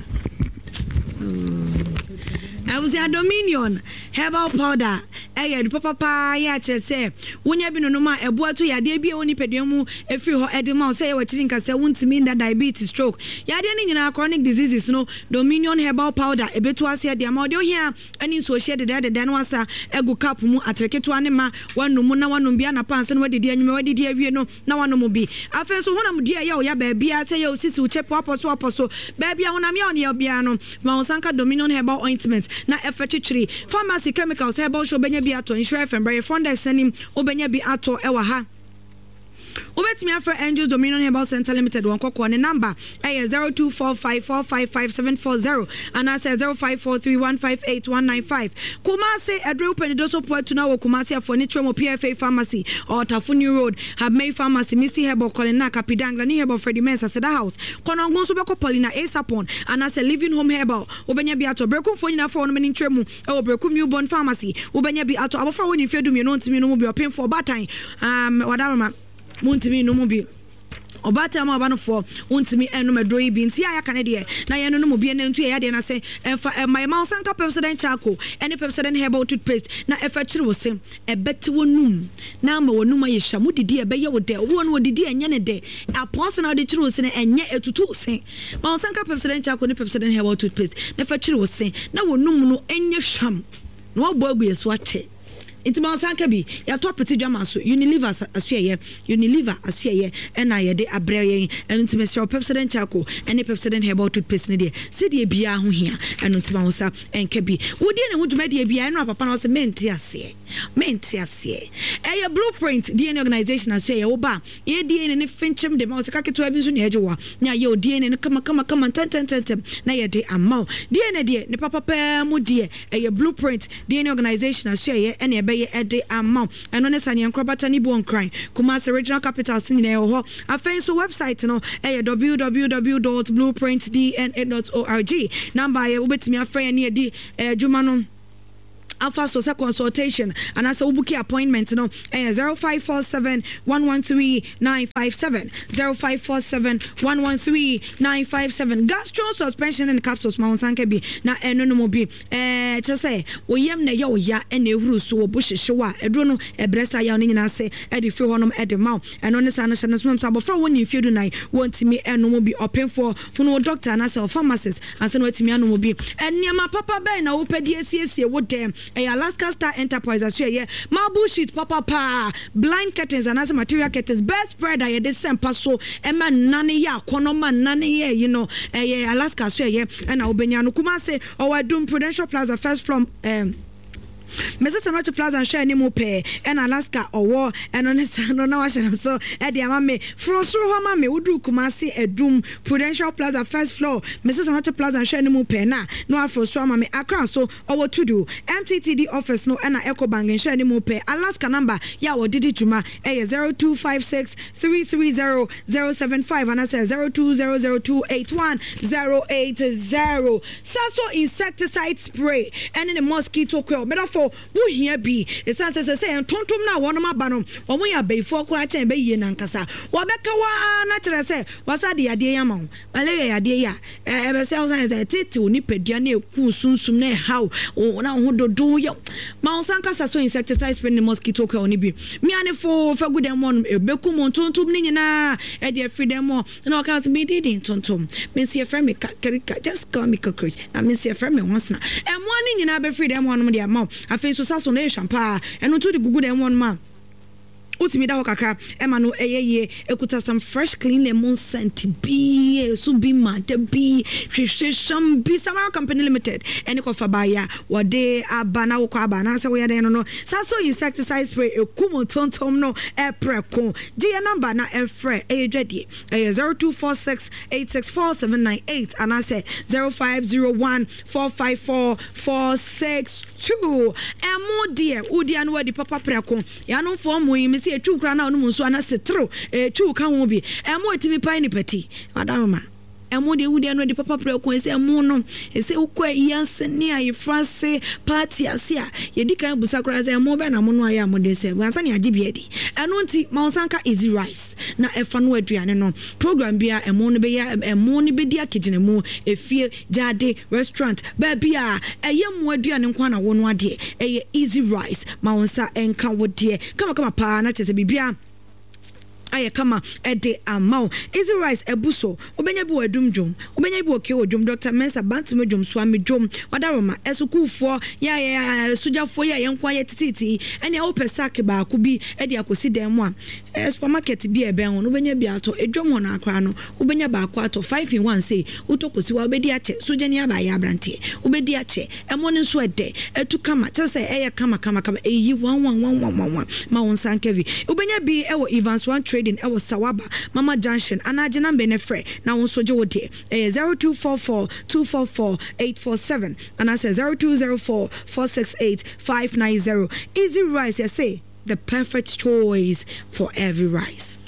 Abusua Dominion herbal powder ɛyɛ du papapa yɛ akyerɛ sɛ wonya bi nonom a ɛboa to yadeɛ bi a ɛwɔ nipadua mu ɛfiri hɔ ɛde ma wo sɛ yɛ wɔkyiri nka sɛ wontumi nda diabetes stroke yadeɛ no nyinaa chronic diseases no Dominion herbal powder ɛbɛtu aseɛ de ama ɔde ohia ɛne nsuohyɛ dedɛɛdedɛ no asa agu cup mu atere ketewa ne ma wanom na wanom bi anapa ansa na wadidi anwummerɛ wadidi awie no na wanom bi afei nso honam dua ɛyɛ wo ya baabia sɛ yɛ wo sisi wo kyɛ po apɔ so apɔ so baabia honam yɛ wo ne yɛ biara no ma wo nsa nka Dominion herbal ointment na ɛfɛ twitwiri pharmacy chemicals herbal shop wobɛnya bi atɔ Nhyira F M brɛ front desk anim wobɛnya bi atɔ ɛwɔ ha. Wobɛtumi afrɛ Angels Dominion Herbal Center Limited wɔn kɔkɔɔ ne number ɛyɛ zero two four five four five five seven four zero anaasɛ zero five four three one five eight one nine five. Kumasi ɛdure wopɛ so po atu na wɔ Kumasi afɔ ne kyerɛ P F A Pharmacy Ɔtafo New Road Habmei Pharmacy Missy Herbal Colina Kapidang Lani Herbal Freddie Mensah Seda House Kɔnɔngo nso bɛkɔ Paulina Asapon anaasɛ Living Home Herbal wobɛnya bi atɔ Berekumfoɔ nyinaa fɔ wɔn ne nkyerɛ mu ɛwɔ Berekum Newborn Pharmacy wobɛnya bi atɔ abɔfra wɔ ne mfeɛ du mmienu ntumi no mu bi ɔpemfoɔ ɔbaatan um, wadaroma muntumi no mu bi ɔbaatan mu aba no foɔ wontumi ɛnom aduro yi bi nti a yɛaka ne deɛ na yɛno no mu bi ɛna ntu yɛ yadeɛ no ase ɛmfa ɛma yɛma wo sanka Pepsodent charcoal ɛne Pepsodent herbal toothpaste na ɛfa kyere wo se ɛbɛte wo num na ama wo num ayɛ hwa mu didi ɛbɛyɛ wo dɛ obi wɔ no wɔdidi ɛnyɛ ne dɛ apɔnse na wode kyere wo se no ɛnyɛ ɛtutu wo se ma wo sanka Pepsodent charcoal ne Pepsodent herbal toothpaste na ɛfa kyere wo se na wo num no ɛnyɛ hwam na wɔabɔ agu yɛ so akyɛ. Nti ma ɔsan ka bi yɛatɔ apete dwama so Unilever asoɛyɛ Unilever asoɛyɛ ɛna yɛde abrɛ yɛn. Ɛno nti mesrɛ wo, Pepsodent charcoal ɛne Pepsodent herbal toothpaste no deɛ sɛdeɛ biara ho hia. Ɛno nti ma wo nsa ɛnka bi. Wodie ne ho dwumadie biara ɛno a papa na ɔsɛ mente aseɛ, mente aseɛ. Ɛyɛ Blueprint D N A Organization asoɛyɛ. Wo ba a yɛ D N A ne finkyim de ma wo sika ketewa bi nso na yɛgye wo a na yɛayɛ wo D N A no kama kama kama ntɛntɛntɛntɛm na yɛde ama wo. D N A deɛ ne papa paa mu deɛ ɛyɛ Blueprint D N A Organization asoɛyɛ ɛna ɛbɛyɛ ɛde ama wo. Ɛno ne Saneɛ Nkorabata ne Buo Nkran, Kumasi Regional Capitals nyinaa ɛwɔ hɔ. Afei nso website no ɛyɛ w w w dot blueprint d n a dot org. Number a wobɛtumi afrɛ yɛn ne yɛdi adwuma no afa so sɛ consultation anaasɛ wo booking appointment no ɛyɛ zero five four seven one one three nine five seven, zero five four seven one one three nine five seven. Gastro suspension and capsules ma wo nsa nka bi na ɛno no mu bi. Ɛɛ kyerɛ sɛ wo yam na ɛyɛ wo ya ɛna ehuru so wɔ bo hyehyew a ɛduro no ɛbrɛ saa yaw no nyinaa ase ɛde firi hɔnom ɛde ma wo. Ɛno ne saa no hyɛ no nso sɛ abɔfra wɔ ne mfeɛ du nan wɔntumi ɛnom bi. Ɔpemfoɔ hunu wo doctor anaasɛ wo pharmacist ansa na watumi anom bi. Nneɛma papa bɛn na wopɛ de asiesie wo dɛm? Ɛyɛ Alaska Star Enterprise aso ɛyɛ marble sheet papapaa, blind curtains anaasɛ material curtains, bed spread a yɛde sɛ mpa so ɛma nna no yɛ akɔnɔ ma nna no yɛ yi no ɛyɛ Alaska so ɛyɛ ɛna wobɛnya no. Kumase ɔwɔ Adum Prudential Plaza first floor, ɛɛ Missus Sanochi Plaza nhwɛ anim pɛɛ ɛna Alaska ɔwɔ. Ɛno ne saa no na wahyɛ no so ɛde ama me. Foro soro hɔ ma me woduru Kumase Adum Prudential Plaza first floor, Missus Sanochi Plaza nhwɛ anim pɛɛ na na waforo soro ama me. Accra so ɔwɔ Tudu M T T D office no ɛna Ecobank nhwɛ anim pɛɛ. Alaska number yɛ a wɔde di dwuma ɛyɛ zero two five six three three zero zero seven five anaasɛ zero two zero zero two eight one zero eight zero. Saso insecticide spray ɛne ne mosquito coil medafo wohia bi ɛsiane sɛ sɛ sɛ ntontom no a wɔnom aba no wɔn yɛ abayifoɔ koraa kyɛn bɛyie nankasa wɔbɛka waa na kyerɛ sɛ wasa de yadeɛ yi ama wo. Malaria yadeɛ yi a ɛbɛsɛ wo sɛ ɛtete wo nipadua na ɛku sunsum na ɛhaw na wo ho dodo yɛ ma wo nsa nkasa. So insecticide spray ne mosquito coil no bi mianefo fa gu dɛm hɔ no ɛbɛkum ntontom no nyinaa ɛde afiri dɛm hɔ. Na ɔka sɛ mede de ntontom me nso yɛfrɛ me kakarika, just call me cockroach, na me nso yɛfrɛ me hɔsena. Ɛmmoa no nyinaa bɛfiri dɛm hɔ nom de ama wo. Afei nso sa so no ɛyɛ hwam ɛno nso de gugu dɛm hɔ nom a wotumi da hɔ kakra ɛma no ɛyɛ yie. Ekuta some fresh clean lemon scent bi eso bi ma da bi hwehwɛ bi. Samara Company Limited ɛne kɔfa baaya wɔde aba na wokɔ aba anaasɛ woyɛ dɛn no no saa so insecticide spray ekum ntontom no ɛprɛko. Gye yɛ number na ɛfrɛ ɛyɛ dwadie ɛyɛ zero two four six eight six four seven nine eight anaasɛ zero five zero one four five four four six two. Ɛmo deɛ wodi ano wadi papa prɛko yanomfoɔ mo yi mesi etwiw kora na ɔnom nso ana seterew etwiw ka ho bi. Ɛmo etimi pan nipa ti madaroma. Ɛmo deɛ wodi ano adi papa prɛko ɛsɛ ɛmo no ɛsɛ wokɔ ayi ase ne ayefra ase party ase a yɛdi kan busa koraa sɛ ɛmo bɛ na mo no ayɛ a mo de sɛ wansa ne agye bi adi. Ɛno nti ma wo nsa nka easy rice na ɛfa no aduane no program bia ɛmo no bɛyɛ ɛmo no bɛdi akegyina mu efie gyaade restaurant baabi a ɛyɛ mo aduane nko na wo no adeɛ ɛyɛ easy rice ma wo nsa ɛnka wo deɛ kama kama paa na kyerɛ sɛ biribia ayɛ kama ɛde ama wo. Easy rice ɛbu so wobɛnya bi wɔ Adum dwom, wobɛnya bi wɔ Kewo dwom, Doctor Mensa Bantama dwom, Suame dwom, Wadaroma ɛsukuufoɔ yɛ yɛ sogyafoɔ yɛ yɛn nko ayɛ tititi ɛnea wopɛ sack baako bi ɛde akɔsi dan mu a ɛɛ supermarket bi a ɛbɛn ho no wobɛnya bi atɔ. Edwom hɔ no akora no wobɛnya baako atɔ five in one sei wotɔ kɔsi wa wobɛdi akyɛ sogyani aba ayɛ aberanteɛ wobɛdi akyɛ. Ɛmo no nso ɛdɛ ɛtu kama kyerɛ sɛ ɛyɛ kama kama kama ɛyi one one one one one one ma wo nsa nka bi. Wobɛnya bi ɛwɔ Evans One Trading ɛwɔ Sawaba Mama Junction anaa gye number ne frɛ na wo nso gye wo deɛ ɛyɛ zero two four four two four four eight four seven anaasɛ zero two zero four four six eight five nine zero. Easy rice yɛsɛ the perfect choice for every rice.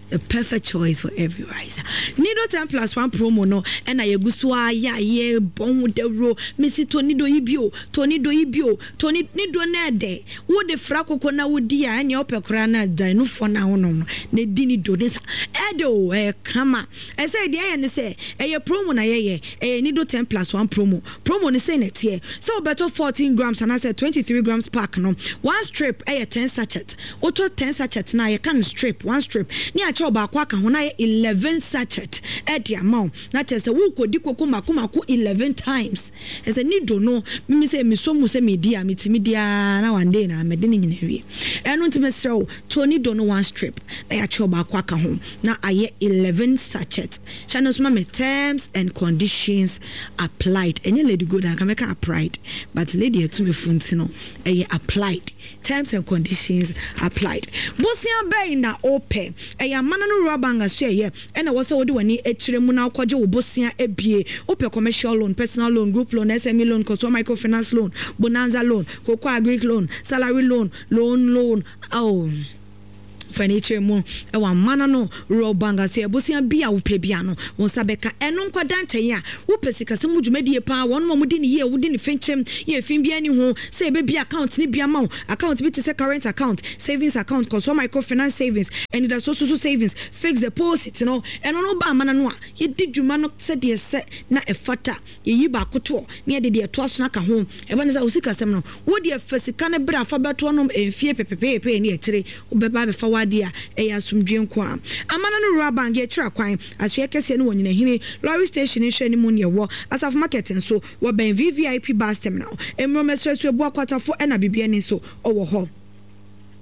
The perfect choice for every rice. Nido ten plus one promo no ɛna yɛgu so a yɛ a yɛbɔ ho dawuro mesi to nido yi bio to nido yi bio to nido na ɛdɛ wode fra koko na wodi a ɛnea wopɛ koraa na gyae no fɔ na wonom no na di nido ne sa ɛdɛ o ɛyɛ kama. Ɛsɛ deɛ ɛyɛ ne sɛ ɛyɛ promo na yɛyɛ ɛyɛ nido ten plus one promo. Promo ne sɛ na ɛteɛ sɛ wobɛtɔ fourteen grams anaasɛ twenty three grams pack no one strip ɛyɛ ten sachet. Wotɔ ten sachet na yɛka no strip one strip ne akyɛ yɛakyɛ wo baako aka ho na ayɛ eleven sachet de ama wo. Na kyerɛ sɛ worekɔdi koko mako mako eleven times. Ɛsɛ Nido no, mimi sɛ mesɔ mu sɛ medi a, metumi di ara na one day na mede ne nyinaa awie. Ɛno nti mesrɛ wo, tɔ Nido no one strip na yɛakyɛ wo baako aka ho na ayɛ eleven sachet. Hyɛ no nso ma me, terms and conditions applied. Ɛnyɛ Lady Gold a, anka mɛka applied, but Lady Atumefo nti no, ɛyɛ applied. Terms and conditions applied. Bosea bɛn na wopɛ? Ɛyɛ amana no Rural Bank asoɛeɛ na ɛwɔ sɛ wode w'ani kyerɛ mu na wokɔgye wo bosea abie. Wopɛ commercial loan, personal loan, group loan, S M E loan, Kɔsoa microfinance loan, bonanza loan, cocoa agric loan, salary loan, loan loan, oh. Fa ani kyerɛ mu wɔ amana no Rural Bank asoɛeɛ. Bosea bi a wopɛ biara no, wo nsa bɛka. Ɛno nkɔda nkyɛn a, wopɛ sikasɛm mu dwumadie paa, wɔnom a wɔdi no yie, wodi no fenkyem, yɛ fi biara nni ho, sɛ yɛbɛbue account no bi ama wo. Account bi te sɛ current account, savings account, Kɔsoa microfinance savings, Anidasoɔ Susu savings, fixed deposit no, ɛno no woba amana no a, yɛdi dwuma no sɛdeɛ ɛsɛ na ɛfata. Yɛyi baako toɔ na yɛde deɛ ɛtoa so no aka ho. Ɛba no sɛ wo sikasɛm no, wo deɛ fa sika no bra fa bɛtoɔ nom mfie pepepeepee ne akyire wobɛba abɛfa w'adeɛ a, ɛyɛ asomdwoeɛ nko ara. Amana no Rural Bank, yɛkyerɛ kwan, Asoɛeɛ kɛseɛ no wɔ Nyinahini Lorry Station nhwɛanimu ne ɛwɔ Asafo Market nso, wɔbɛn V V I P Bus Terminal. Mmorɔm Asuasu Abua Kwatafo ɛna Bibiani nso wɔ hɔ.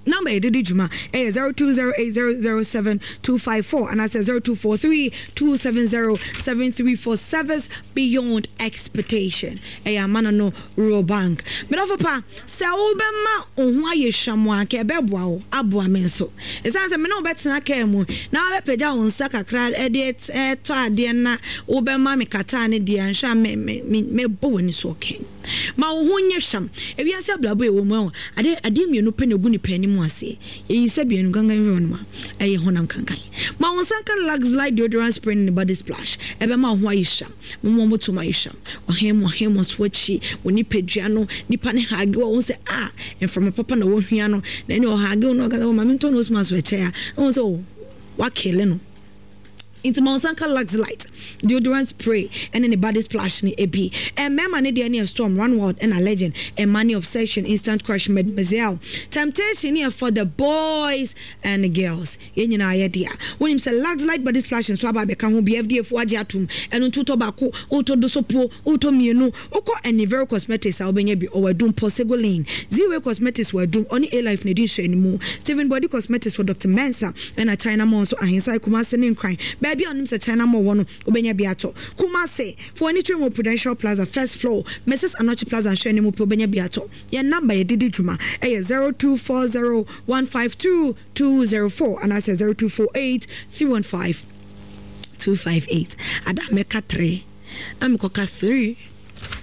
Number yɛde di dwuma ɛyɛ zero two zero eight zero zero seven two five four anaasɛ zero two four three two seven zero seven three four. Service beyond expectation. Ɛyɛ Amana no Rural Bank. Medɔfo pa, sɛ wobɛma wo ho ayɛ hwam a, anka ɛbɛboa wo aboa me nso. Ɛsiane sɛ me ne wo bɛtena kaa mu na wobɛpagya wo nsa kakra de tɔ adeɛ na wobɛma me kataa no deɛ, anhwɛ a me me me mɛbɔ w'ani so ɔkɛn. Ma wo ho nyɛ hwam. Ewiase abrabɔ a yɛwɔ mu yi, ade adeɛ mmienu pɛ na ɛgu nipa anim ase. Yɛyi sɛ mmienu kankan firi hɔnom a, ɛyɛ honam kankan. Ma wo nsa nka Lux Light Deodorant Spray ne ne Body Splash. Ɛbɛma wo ho ayɛ hwam. Moma wɔn tom ayɛ hwam. Ɔhen mu ɔhen mu so akyi, wo nipadua no, nipa ne hug wo a, wohu sɛ ah, mframa papa na wɔhwia no. Na ɛne ɔhug wo na ɔka sɛ, oh, ma mentɔ nose mask ɛkyɛ a, wohu sɛ oh, wakele no. Nti ma wo nsa nka Lux Light Deodorant Spray ɛne ne Body Splash no bi. Mmarima no deɛ ne yɛ Storm, Run Wild ɛna Legend. Mmaa ne Obsession, Instant Crush, Mademoiselle. Temptation ne yɛ for the boys and the girls. Yɛn nyinaa yɛ dea. Wonim sɛ Lux Light Body Splash nso aba abɛka ho bi, F D A foɔ agye atom. Ɛno nti wotɔ baako, wotɔ dosopuo, wotɔ mmienu. Wokɔ Anivero Cosmetics a wobɛnya bi. Ɔwɔ Adum, Pɔsego Lane. Z-Way Cosmetics wɔ Adum, ɔne A-Life na ɛdi nhwɛanimu. Stephen Body Cosmetics wɔ Doctor Mensah ɛna China Mall nso, Ahensan, Kumase ne Nkran. Baabi a wonim sɛ China Mall wɔ no, wobɛnya bi atɔ. Kumase, fa w'ani kyerɛ mu wɔ Prudential Plaza, first floor, Missus Anokye Plaza nhwɛanimu pɛ wobɛnya bi atɔ. Yɛn number yɛde di dwuma ɛyɛ zero two four zero one five two two zero four anaasɛ zero two four eight three one five two five eight. Ada mɛka three na mekɔka three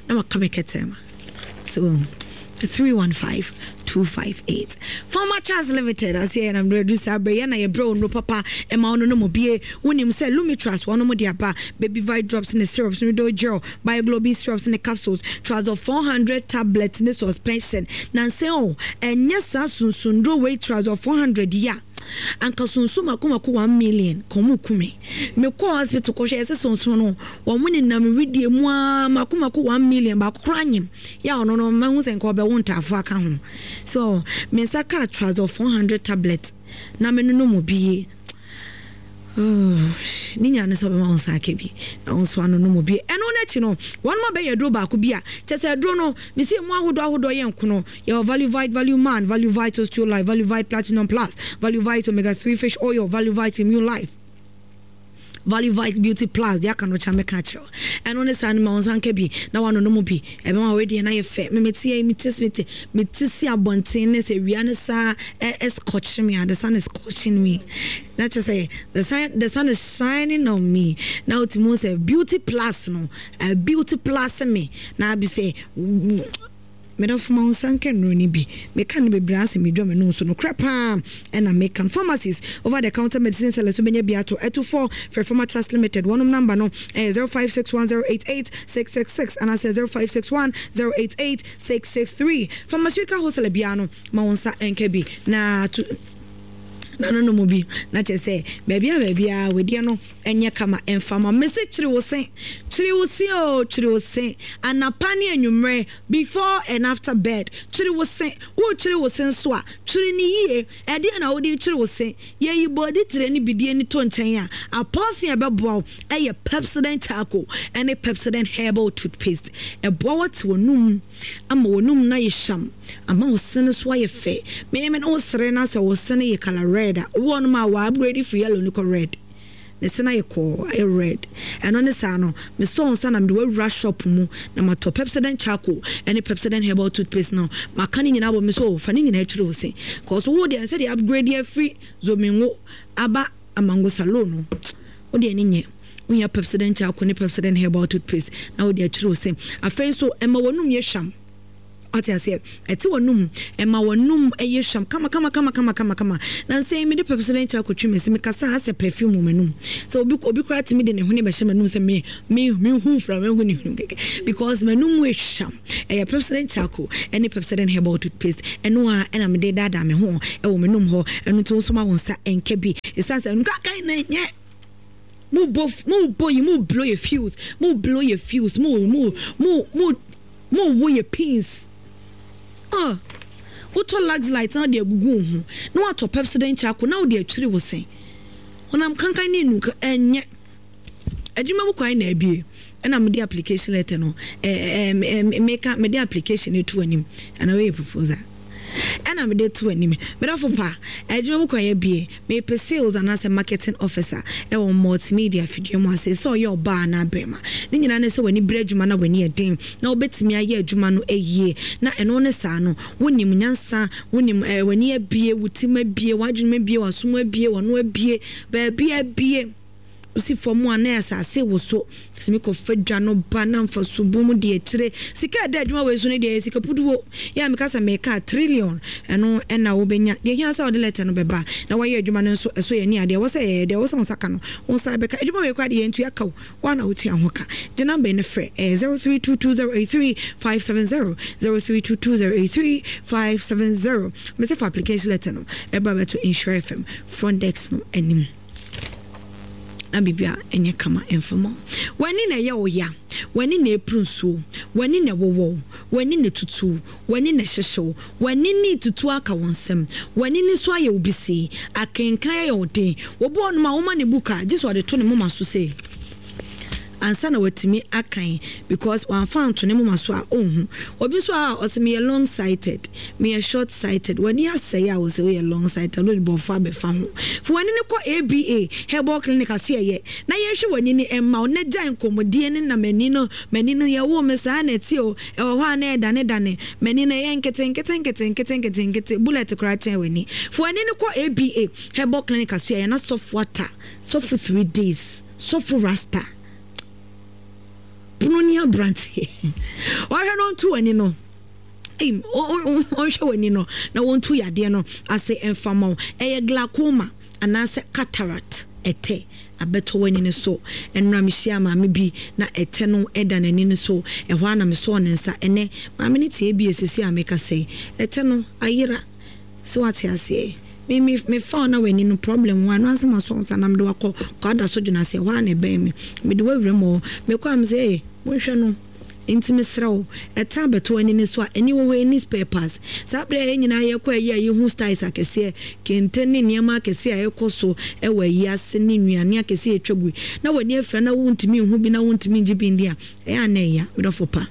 na maka me kɛtɛrɛma so three one five two five eight. Farmer Charles Limited aseɛ yɛ nam du saa berɛ yɛ na yɛbrɛ wo nnuro papa ɛma wo no no mu bie. Wonim sɛ Lumitras wɔnom de aba Baby Vite drops ne syrups no do gel, Bioglobin syrups ne capsules, Trazol four hundred tablets ne suspension. Nansɛn o, ɛnyɛ saa sunsunduro wei Trazol four hundred yi a, anka sunsun mako mako one million ka ɔmo kume. Mekɔ hospital kɔhwɛ, yɛsɛ sunsun no wɔn nenam widie mu aa mako mako one million baako koraa nyim yɛ a ɔno no mahu sɛ nka ɔbɛwo ntaafo aka ho. So me nsa kaa Trazol four hundred tablet na me nonom mu bie ne nya ne sɛ ɔbɛma wo nsa aka bi na wo nso ano no mu bi. Ɛno no akyi no, wɔn ma bɛyɛ aduro baako bi a kyɛ sɛ aduro no mesi emu ahodoɔ ahodoɔ yɛ nkono. Yɛwɔ Value Vite, Value Man, Value Vite Osteo Life, Value Vite Platinum Plus, Value Vite Omega three Fish Oil, Value Vite Immune Life, Value Vite Beauty Plus. Deɛ aka no kyɛ mɛka akyerɛw. Ɛno ne saa no, ma wo nsa nka bi na wano no mu bi, ɛbɛma wɔredi na yɛ fɛ. Memete yɛ mete mete mete si abɔnten ne sɛ wia ne saa ɛ scorch me a, the sun is scorching me na kyerɛ sɛ the sun the sun is shining on me na wotumi hu sɛ Beauty Plus no, uh, Beauty Plus me na abi sɛ medɔfo, ma wo nsa nka nnuro no bi. Meka no bebree asɛ medwa m'anum so nokorɛ paa ɛna meka no. Pharmacies, over the counter medicine sellers, wobɛnya bi ato. Ɛto fɔ frɛ Pharma Trust Limited. Wɔnom number no ɛyɛ zero five six one zero eight eight six six six anaasɛ zero five six one zero eight eight six six three. Pharmaceutical wholesaler biara no, ma wo nsa nka bi na to Na no no mu bi na kyerɛ sɛ baabi a baabi a wedeɛ no ɛnyɛ kama ɛmfama. Mese twere wo se, twere wo se o, twere wo se anapa ne anwummerɛ, before and after bed. Twere wo se. Wotwere wo se nso a, twere ne yie. Ɛdeɛ na wode twere wo se? Yɛyi bɔɔde tire ne bidie ne to nkyɛn a, apɔnse a ɛbɛboa wo ɛyɛ Pepsodent Charcoal ɛne Pepsodent Herbal Toothpaste. Ɛboa wo te w'anum ama w'anum na yɛ hyam, ama wo se no so ayɛ fɛ. Mɛmɛ na wo sere na sɛ wo se no yɛ colour red a, obi wɔ nom a wɔ upgrade firi yellow ne kɔ red, ne se no ayɛ kɔɔ, ayɛ red. Ɛno ne saa no, mesɔ nsa na mede wawura shop mu na matɔ Pepsodent Charcoal ɛne Pepsodent Herbal Toothpaste no. Maka ne nyinaa bɔ me so, fa ne nyinaa twere wo se, cause wo deɛ sɛ de upgrade afiri zomingo aba amango salon no, wo deɛ ne nyɛ. Wonya Pepsodent Charcoal ne Pepsodent Herbal Toothpaste na wode akyerɛ wo se. Afei nso ɛma w'anum yɛ hwam. Ɔte aseɛ, ɛte w'anum, ɛma w'anum ɛyɛ hwam kama kama kama kama kama kama. Na nsɛn mede Pepsodent Charcoal twi me se, mekasa asɛ perfume wɔ m'anum sɛ obi obi koraa tumi de ne hwene bɛhyɛ m'anum sɛ me me me hu fra me hu ne hwene kɛkɛ, because m'anum mu ehwam. Ɛyɛ Pepsodent Charcoal ɛne Pepsodent Herbal Toothpaste ɛno a ɛna mede daadaa me ho ɛwɔ m'anum hɔ. Ɛno nti nso ma wo nsa ɛnka bi, ɛsiane sɛ nkakan na nyɛ mo bɔ mo bɔ yi, mo blow yɛ fuse, mo blow yɛ fuse, mo mo mo mo mo wo yɛ pins. Ah, wotɔ Lux Light na wode agugu wo ho, na watɔ Pepsodent Charcoal na wode atwiri wo se, honam kankan ne enu ɛnyɛ adwuma mu kwan na abie. Ɛna mede application letter no ɛɛ ɛɛ meka mede application no to anim, ɛna wɔyɛ proposal ɛna mede to anim. Medafo pa, adwuma mu kwan abie. Mepɛ sales anaasɛ marketing officer ɛwɔ multimedia afidie mu ase, sɛ ɔyɛ ɔbaa anaa bɛrima. Ne nyinaa ne sɛ w'ani bere adwuma na w'ani yɛ den na wobɛtumi ayɛ adwuma no ayie, na ɛno ne saa no wonim nyansa, wonim ɛɛ w'ani abie, wo tim abie, w'adwene abie, w'asom abie, w'ano abie, baabi abie. Wosi fam a na asase wo so, tumi kɔfa dwa no ba na mfa so bu mu de akyire sika. Ɛda adwuma wei so no deɛ, yɛ sika puduo yɛ a meka sɛ meka trillion. Ɛno ɛna wobɛnya deɛ hia sɛ wode letter no bɛba na wɔyɛ adwuma no nso. Ɛso yɛ ni adeɛ wɔ sɛ yɛyɛ deɛ wɔ sɛ wo nsa ka no, wo nsa bɛka. Adwuma wei koraa deɛ, yɛntua ka wo, woa na wotua ho ka. Gye number no frɛ, ɛyɛ zero three two two zero eight three five seven zero, zero three two two zero eight three five seven zero. Mesɛ fa application letter no ɛba bɛto Nhyira F M front desk no anim na biribi a ɛnyɛ kama ɛmfama. W'ani na ɛyɛ wo ya, w'ani na ɛpuru nsuo, w'ani na ɛwɔwɔ wo, w'ani na ɛtutu, w'ani na ɛhyehyew, w'ani ne tutu aka wo nsɛm, w'ani ne so ayɛ wo bisii, akenkan ayɛ wo den. Obi wɔ nom a woma ne book a, gye sɛ ɔde to ne moma so sei ansa na watumi akan, because wamfa anto ne moma so a, ɔnhu. Obi nso a ɔsɛ meyɛ long sighted, meyɛ short sighted, w'ani asɛe a, wɔsɛ woyɛ long sighted, wode bɔfo abɛfa ho. Fo w'ani no kɔ A B A Herbal Clinic aso yɛyɛ na yɛhwɛ w'ani no ɛma wo na gyae nkɔmmɔdie ne na m'ani no m'ani no yɛwo me saa na ɛte o, ɛwɔ hɔ a na ɛdane dane m'ani no, ɛyɛ nkete nkete nkete nkete nkete nkete, bullet koraa kyɛn w'ani. Fo w'ani no kɔ A B A Herbal Clinic aso yɛyɛ na sɔfo ata, sɔfo three days, sɔfo rasta pono ni aberante ɔhwɛ no nto w'ani no, ɔnhwɛ w'ani no na wɔntu yadeɛ no ase mfama wo. Ɛyɛ glaucoma anaasɛ cataract, ɛtɛ abɛtɔ w'ani no so. Ɛnora mehyia maame bi na ɛtɛ no ɛda n'ani no so. Ɛhɔ a na mesɔɔ ne nsa. Ɛnɛ maame no tie bi esisi a meka sɛ ɛtɛ no ayera sɛ wate aseɛ. Me me me fa na w'ani no problem ho ano asɛm asɔ nsa na mede wakɔ kɔ so dwena sɛ ɛhɔ a na ɛbɛn me, mede wawura mu hɔ. Mekɔ a, me sɛ ee, monhwɛ no. Nti mesrɛ wo, ɛta abɛto ani no so a, ani wɔ hɔ, ani spare parts. Saa berɛ a yɛn nyinaa yɛkɔ ayi a, yɛhu styles akɛseɛ, kente ne nneɛma akɛseɛ a ɛkɔ so ɛwɔ ayi ase ne nnuane akɛseɛ a ɛtwa gu na w'ani afira na wontumi nhu bi na wontumi ngye bi ndi a, ɛyɛ a na ɛya medɔfo pa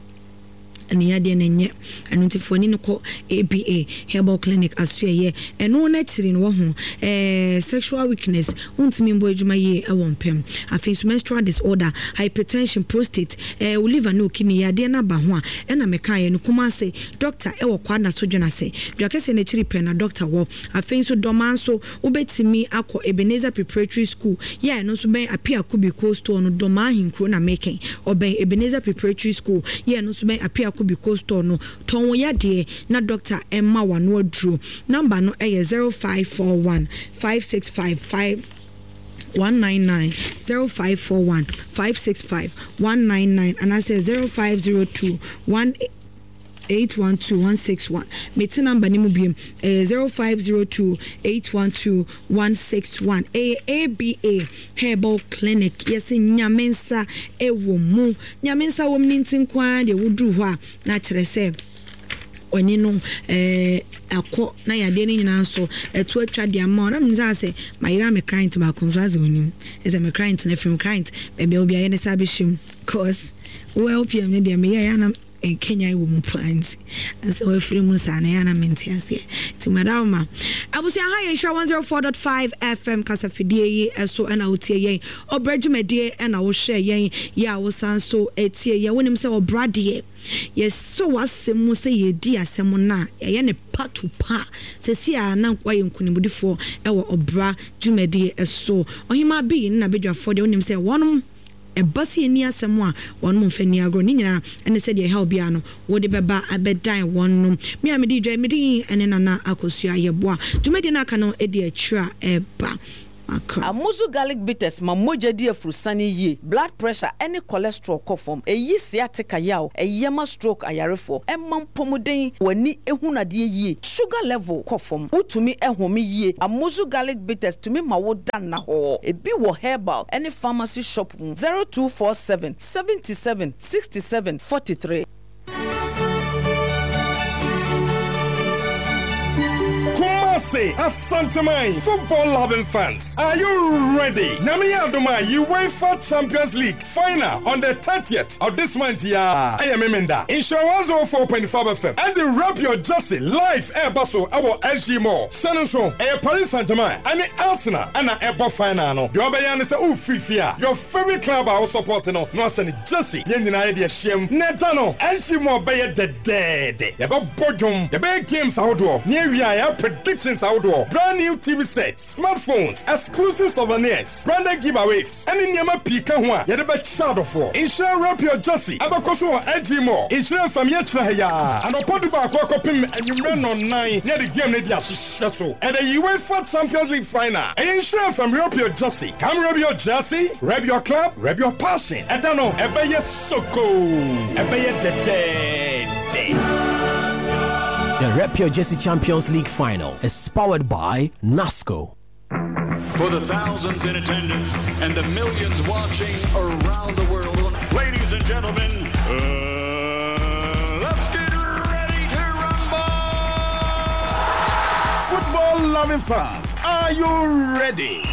ɛne yadeɛ no nyɛ ɛno. Nti fo ani no kɔ A B A Herbal Clinic aso ɛyɛ ɛno no akyiri no wɔ ho ɛɛ sexual weakness, wontumi mbɔ adwuma yie ɛwɔ mpɛm. Afei nso menstrual disorder, hypertension, prostate, ɛɛ wo liver ne wo kidney yadeɛ no aba ho a, ɛna meka yɛ no Kumase doctor ɛwɔ Kwada so dwena ase dwa kɛseɛ no akyiri pɛ na doctor wɔ. Afei nso Dɔmaa nso wobɛtumi akɔ Ebenezer Preparatory School yɛ, ɛno nso bɛn Apia Kubi Cold Store no. Dɔmaa ahenkuro na mekɛn, ɔbɛn Ebenezer Preparatory School yɛ, ɛno nso bɛn Apia Kubi Cold Store no. Tɔn wo yadeɛ na doctor ɛma wano aduro. Number no ɛyɛ zero five four one five six five five one nine nine, zero five four one five six five one nine nine, anaasɛ zero five zero two one eight one two one six one. Mete number no mu biom, ɛyɛ zero five zero two eight one two one six one. Ɛyɛ A B A Herbal Clinic. Yɛse Nyame nsa wɔ mu. Nyame nsa wɔ mu no nti nko ara deɛ woduru hɔ a na kyerɛ sɛ w'ani no akɔ na yadeɛ no nyinaa nso ɛto atwa de ama wo. Na menim sɛ asɛ mayera me client baako nso asɛ onim. Ɛsɛ me client no afiri mu client baabi a obi ayɛ ne sa abɛhyɛ mu cause wo L P M no deɛ meyɛ yɛ na nkenyan wɔ mu paa nti asɛ wafiri mu saa na yɛ na mente aseɛ nti madawoma abusua ha yɛ nhyira one zero four dot five F M kasafidie yi ɛso ɛna wotie yɛn ɔbrɛ dwumadie ɛna wohwɛ yɛn yɛ a wosan so etie yɛn wonim sɛ ɔbra deɛ yɛsɔ w'asɛm mu sɛ yɛdi asɛm no a ɛyɛ ne pa to pa sɛsi a na wayɛ nkonimdifoɔ ɛwɔ ɔbra dwumadie ɛso ɔhema bi na bedwafoɔ deɛ wonim sɛ wɔnom ɛba sɛ yɛnni asɛm a wɔnom mfa nni agorɔ ne nyinaa ɛne sɛdeɛ ɛhaw biara no wode bɛba abɛdan wɔn nom me a mede dwa mede ɛne Nana Akosua Yɛboa dwumadie no aka no ɛdi akyire a ɛba. Amuzu garlic bitters ma mogya di afurusane yie, blood pressure ɛne cholesterol kɔ fam, ɛyi sciatica yaw, ɛyɛ ma stroke ayarefoɔ, ɛma mpɔmuden, w'ani ehunadeɛ yie, sugar level kɔ fam, wotumi ɛhome yie. Amuzu garlic bitters tumi ma wo da nna hɔ. Ebi wɔ herbal ɛne pharmacy shop mu. Zero two four seven seventy seven sixty seven forty three. Kumasi Asanteman football loving fans, are you ready? Nyame Adoma UEFA Champions League final on the thirtieth of this month. Yeah, I am Memenda. Nhyira one oh four point five F M and the Wrap Your Jersey live air basso our S G Mall. Shannon, a Paris Saint-Germain and Arsenal and a Ebo final. No, the other is a Ufifia. Your favorite club I was supporting no, no jersey. Yen idea shame. Netano, S G Mall bay the dead. Yaba Bodum, the big games outdoor. Near we are predictions outdoor. Brand new T V sets, smartphones, exclusive souvenirs, branded giveaways, and in Yama Pika one, Yadaba Shadow for. Insure Wrap Your Jersey, Abakoso S G Mall, Insure Famia Chahaya, and Opoduba Kokopim and you men on nine near the game Nadia Shasso, and the UEFA Champions League final. And Insure from Wrap Your Jersey. Come rub your jersey, rub your club, rub your passion. And Dano, Ebeye Soko, Ebeye the dead. The Rep Your Jersey Champions League final is powered by NASCO. For the thousands in attendance and the millions watching around the world, ladies and gentlemen, uh, let's get ready to rumble! Football-loving fans, are you ready?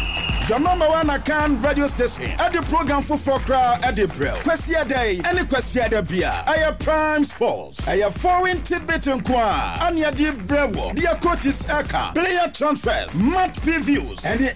Your number one Akan radio station. At the program for Fokra at the Brill. Kwesi Day, any Kwesi Day beer. I Prime Sports. I foreign tidbit and kwa. And your deep brewo. Dear coaches Eka. Player transfers. Match previews. Any